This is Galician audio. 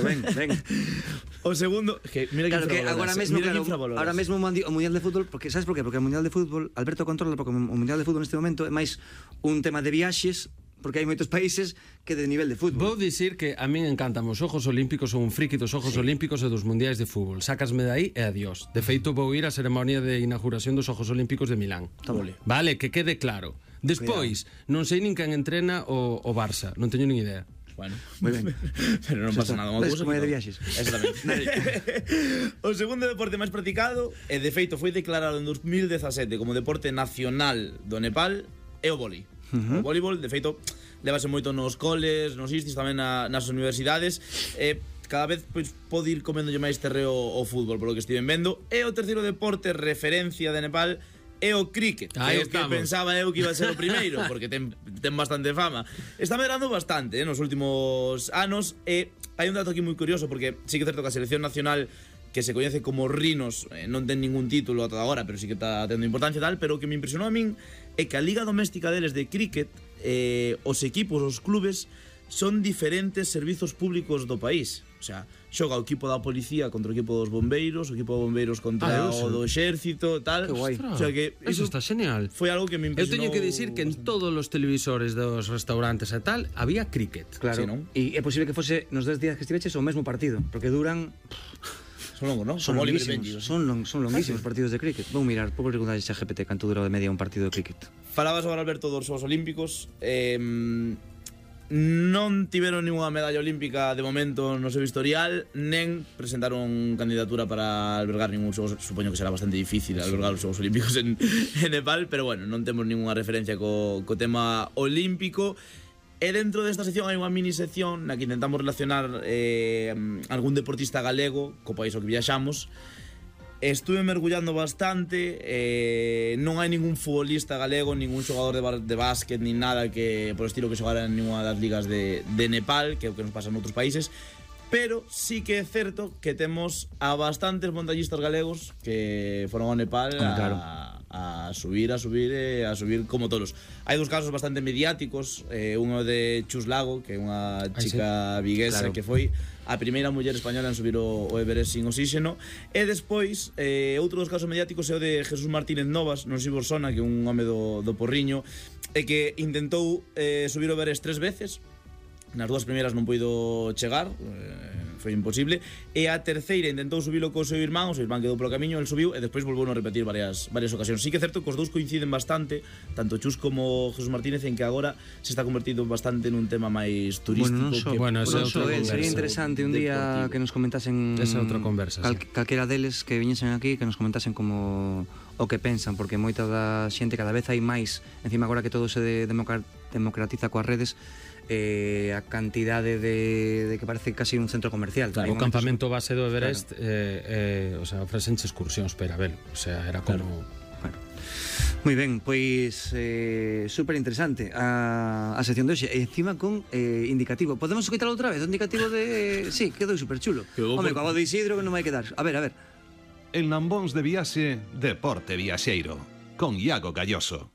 Ben. O segundo, que mira Claro que agora mesmo, ahora mesmo o Mundial de Fútbol, porque sabes por qué? Porque o Mundial de Fútbol, Alberto controla, porque o Mundial de Fútbol neste momento é máis un tema de viaxes, porque hai moitos países que de nivel de fútbol. Vou dicir que a min encantan os Xogos Olímpicos, son un friki dos Xogos Olímpicos e dos Mundiais de Fútbol. Sácasme de aí e adiós. De feito, vou ir á ceremonia de inauguración dos Xogos Olímpicos de Milán. Vale, que quede claro. Despois, non sei nin quen entrena o Barça, non teño nin idea. Bueno, moi ben. Pero non pasa nada. Ves como é de viaxes. O segundo deporte máis practicado, e de feito foi declarado en 2017 como deporte nacional do Nepal, é o vólei. O voleibol, de feito, levase moito nos coles, nos istis, tamén nas universidades. Cada vez pois pode ir comendo máis terreo o fútbol, polo que estiven vendo. E o terceiro deporte referencia de Nepal é o cricket, que pensaba eu que iba a ser o primeiro, porque ten bastante fama. Está medrando bastante nos últimos anos, e hai un dato aquí moi curioso, porque sí que é certo que a selección nacional, que se coñece como Rinos, non ten ningún título ata agora, pero sí que está tendo importancia e tal. Pero o que me impresionou a min é que a liga doméstica deles de cricket, os equipos, os clubes, son diferentes servizos públicos do país. O sea, xoga o equipo da policía contra o equipo dos bombeiros, o equipo dos bombeiros contra o do exército, tal. Que guai. O sea que Eso está genial. foi algo que me Eu impresionou. teño que dicir que en todos os televisores dos restaurantes e tal había cricket. Claro. Sí, non? E é posible que fose nos 10 días que estiveches o mesmo partido, porque duran Son longos, non? son longuísimos, son longuísimos partidos de cricket. Vou mirar, vou preguntar a GPT canto dura de media un partido de cricket. Falabas agora, Alberto, dos Xogos Olímpicos. Non tiveron ninguna medalla olímpica de momento no seu historial, nen presentaron candidatura para albergar ningún xogos. Supoño que será bastante difícil albergar os Xogos Olímpicos en Nepal, pero bueno, non temos ninguna referencia co tema olímpico. E dentro desta sección hai unha mini sección na que intentamos relacionar algún deportista galego co país ao que viaxamos. Estuve mergullando bastante, non hai ningún futbolista galego, ningún xogador de básquet, nin nada que por estilo que xogara en ninguna das ligas de Nepal, que é o que nos pasa en outros países. Pero sí que é certo que temos a bastantes montañistas galegos que foron ao Nepal a subir como tolos. Hai dos casos bastante mediáticos, uno de Chus Lago, que é unha chica viguesa, que foi a primeira muller española en subir o Everest sin oxígeno. E despois, outro dos casos mediáticos é o de Jesús Martínez Novas, non sei vos sona, que é un home do Porriño, e que intentou subir o Everest 3 veces. Nas dúas primeiras non puido chegar, foi imposible. E a terceira intentou subilo co seu irmán, o seu irmán quedou polo camiño, el subiu e despois volveu a repetir varias ocasións. Sí que é certo que os dous coinciden bastante, tanto Chus como Jesús Martínez, en que agora se está convertindo bastante nun tema máis turístico. Sería interesante un día que nos comentasen esa outra conversa, calquera deles que viñesen aquí, que nos comentasen como o que pensan, porque moita da xente cada vez hai máis, encima agora que todo se democratiza coas redes, a cantidade de que parece casi un centro comercial. Claro, o campamento base do Everest, o sea, ofrecenche excursións para ver, o sea, era como... Bueno. Moi ben, pois super interesante a sección de hoxe, e encima con indicativo. Podemos quitar outra vez o indicativo de... Sí, quedou super chulo. Home, co de Isidro que non vai quedar. A ver. En Lambóns de Viaxe, Deporte Viaxeiro, con Iago Galloso.